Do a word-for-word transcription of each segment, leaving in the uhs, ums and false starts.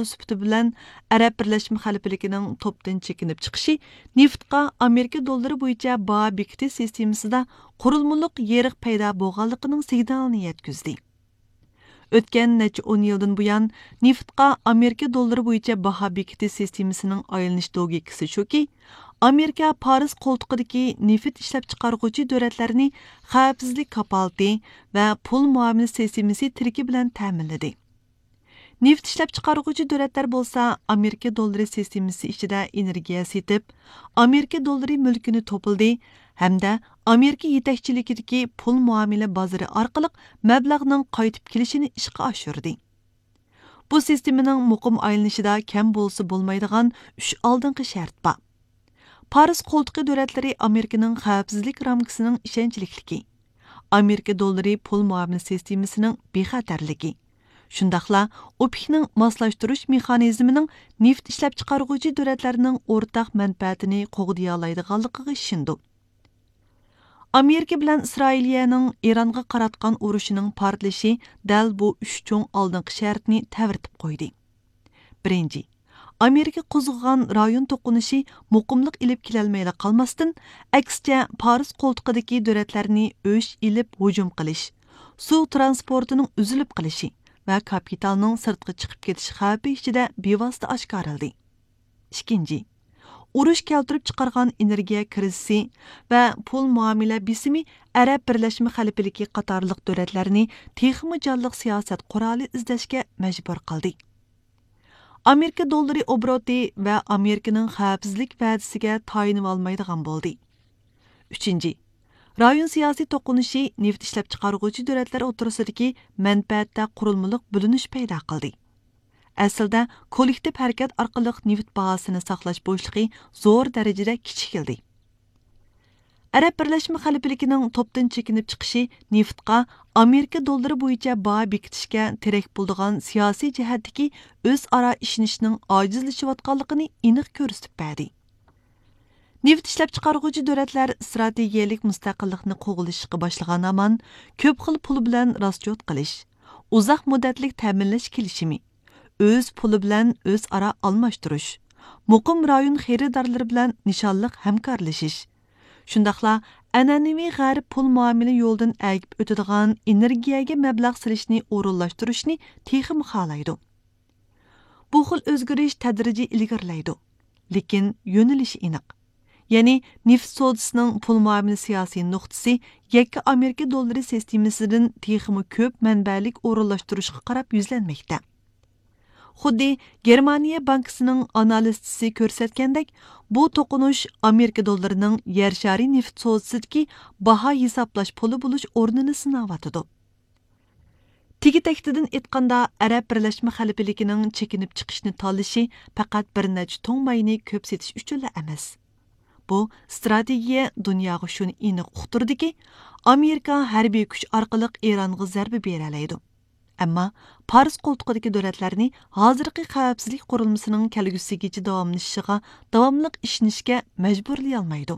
سۈپىتى بىلەن ئەرەب بىرلەشمە خەلىپىلىكىنىڭ توپتىن چېكىنىپ چىقىشى نېفىتقا ئامېرىكا دوللىرى بويىچە باھا بېكىتىش سىستېمىسىدا قۇرۇلمىلىق يېرىق پەيدا بولغانلىقىنىڭ سىگنالىنى يەتكۈزدى. ئۆتكەن نەچچە ئون يىلدىن بۇيان، نېفىتقا ئامېرىكا دوللىرى بويىچە باھا بېكىتىش سىستېمىسىنىڭ ئايلىنىش لوگىكىسى شۇكى، ئامېرىكا پارس قولتۇقىدىكى نېفىت ئىشلەپچىقارغۇچى دۆلەتلەرنى خەۋپسىزلىك كاپالىتى ۋە پۇل مۇئامىلە سىستېمىسى تىرىكى بىلەن تەمىنلىدى. نېفىت ئىشلەپچىقارغۇچى دۆلەتلەر بولسا ئامېرىكا دوللىرى سىستېمىسى ئىچىدە ئېنېرگىيە سېتىپ، ئامېرىكا دوللىرى مۈلكىنى توپلىدى ھەمدە ئامېرىكا يېتەكچىلىكىدىكى پۇل مۇئامىلە بازىرى ئارقىلىق مەبلەغنىڭ قايتىپ كېلىشىنى ئىشقا ئاشۇردى. بۇ سىستېمىنىڭ مۇقىم ئايلىنىشىدا كەم بولسا بولمايدىغان ئۈچ ئالدىنقى شەرت بار. پارس قولتۇقى دۆلەتلىرى ئامېرىكىنىڭ خەۋپسىزلىك رامكىسىنىڭ ئىشەنچلىكلىكى، ئامېرىكا دوللىرى پۇل مۇئامىلە سىستېمىسىنىڭ بىخەتەرلىكى، شۇنداقلا ئوپېكنىڭ ماسلاشتۇرۇش مېخانىزمىنىڭ نېفىت ئىشلەپچىقارغۇچى دۆلەتلەرنىڭ ئورتاق مەنپەئەتىنى قوغدىيالايدىغانلىقىغا ئىشىنىدۇ. ئامېرىكا بىلەن ئىسرائىلىيەنىڭ ئىرانغا قاراتقان ئۇرۇشىنىڭ پارتلىشى دەل بۇ ئۈچ چوڭ ئالدىنقى شەرتنى تەۋرىتىپ قويدى. بىرىنچى، ئامېرىكا قوزغىغان رايون توقۇنۇشى مۇقىملىق ئېلىپ كېلەلمەيلا قالماستىن، ئەكسىچە، پارس قولتۇقىدىكى دۆلەتلەرنى ئۆچ ئېلىپ ھۇجۇم قىلىش، سۇ ترانسپورتىنىڭ ئۈزۈلۈپ قېلىشى ۋە كاپىتالنىڭ سىرتقا چىقىپ كېتىش خەۋپى ئىچىدە بىۋاسىتە ئاشكارىلىدى. ئىككىنچى، ئۇرۇش كەلتۈرۈپ چىقارغان ئېنېرگىيە كىرىزىسى ۋە پۇل مۇئامىلە بېسىمى ئەرەب بىرلەشمە خەلىپىلىكى قاتارلىق دۆلەتلەرنى تېخىمۇ جانلىق سىياسەت قورالى ئىزدەشكە مەجبۇر قىلدى. ئامېرىكا دوللىرى ئوبوروتى ۋە ئامېرىكىنىڭ خەۋپسىزلىك ۋەدىسىگە تايىنىۋالمايدىغان بولدى. ئۈچىنچى، رايون سىياسىي توقۇنۇشى نېفىت ئىشلەپچىقارغۇچى دۆلەتلەر ئوتتۇرىسىدىكى مەنپەئەتتە قۇرۇلمىلىق بۆلۈنۈش پەيدا قىلدى. ئەسلىدە، كوللېكتىپ ھەرىكەت ئارقىلىق نېفىت باھاسىنى ساقلاش بوشلۇقى زور دەرىجىدە كىچىكلىدى. ئەرەب بىرلەشمە خەلىپىلىكىنىڭ توپتىن چېكىنىپ چىقىشى نېفىتقا ئامېرىكا دوللىرى بويىچە باھا بېكىتىشكە تىرەك بولىدىغان سىياسىي جەھەتتىكى ئۆزئارا ئىشىنىشنىڭ ئاجىزلىشىۋاتقانلىقىنى ئېنىق كۆرسىتىپ بەردى. نېفىت ئىشلەپچىقارغۇچى دۆلەتلەر ئىستراتېگىيەلىك مۇستەقىللىقنى قوغلىشىشقا باشلىغان ھامان، كۆپ خىل پۇل بىلەن راسچوت قىلىش، ئۇزاق مۇددەتلىك تەمىنلەش كېلىشىمى، ئۆز پۇلى بىلەن ئۆزئارا ئالماشتۇرۇش، مۇقىم رايون خېرىدارلىرى بىلەن نىشانلىق ھەمكارلىشىش، شۇنداقلا ئەنئەنىۋى غەرب پۇل مۇئامىلە يولىدىن ئەگىپ ئۆتىدىغان ئېنېرگىيەگە مەبلەغ سېلىشنى ئورۇنلاشتۇرۇشنى تېخىمۇ خالايدۇ. بۇ خىل ئۆزگىرىش تەدرىجىي ئىلگىرىلەيدۇ، لېكىن يۆنىلىشى ئېنىق. يەنى نېفىت سودىسىنىڭ پۇل مۇئامىلە سىياسىي نۇقتىسى يەككە ئامېرىكا دوللىرى سىستېمىسىدىن تېخىمۇ كۆپ مەنبەلىك ئورۇنلاشتۇرۇشقا قاراپ يۈزلەنمەكتە. خۇددى گېرمانىيە بانكىسىنىڭ ئانالىزچىسى كۆرسەتكەندەك، بۇ توقۇنۇش ئامېرىكا دوللىرىنىڭ يەر شارى نېفىت سودىسىدىكى باھا ھېسابلاش پۇلى بولۇش ئورنىنى سىناۋاتىدۇ. تېگى تەكتىدىن ئېيتقاندا، ئەرەب بىرلەشمە خەلىپىلىكىنىڭ چېكىنىپ چىقىشنى تاللىشى پەقەت بىر نەچچە تۇڭ ماينى كۆپ سېتىش ئۈچۈنلا ئەمەس. بۇ ئىستراتېگىيە دۇنياغا شۇنى ئېنىق ئۇقتۇردىكى، ئامېرىكا ھەربىي كۈچ ئارقىلىق ئىرانغا زەربە بېرەلەيدۇ. ئەمما پارس قولتۇقىدىكى دۆلەتلەرنى ھازىرقى خەۋپسىزلىك قۇرۇلمىسىنىڭ كەلگۈسىگىچە داۋاملىشىشىغا داۋاملىق ئىشىنىشكە مەجبۇرلىيالمايدۇ.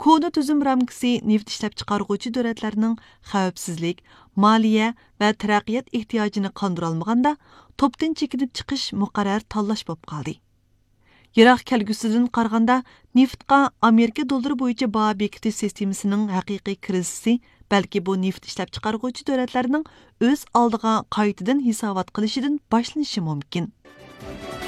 كونا تۈزۈم رامكىسى نېفىت ئىشلەپچىقارغۇچى دۆلەتلەرنىڭ خەۋپسىزلىك، مالىيە ۋە تەرەققىيات ئېھتىياجىنى قاندۇرالمىغاندا، توپتىن چېكىنىپ چىقىش مۇقەررەر تاللاش بولۇپ قالدى. يىراق كەلگۈسىدىن قارىغاندا، نېفىتقا ئامېرىكا دوللىرى بويىچە باھا بېكىتىش سىستېمىسىنىڭ ھەقىقىي كىرىزىسى، بەلكى بۇ نېفىت ئىشلەپچىقارغۇچى دۆلەتلەرنىڭ ئۆز ئالدىغا قايتىدىن ھېسابات قىلىشىدىن باشلىنىشى مۇمكىن.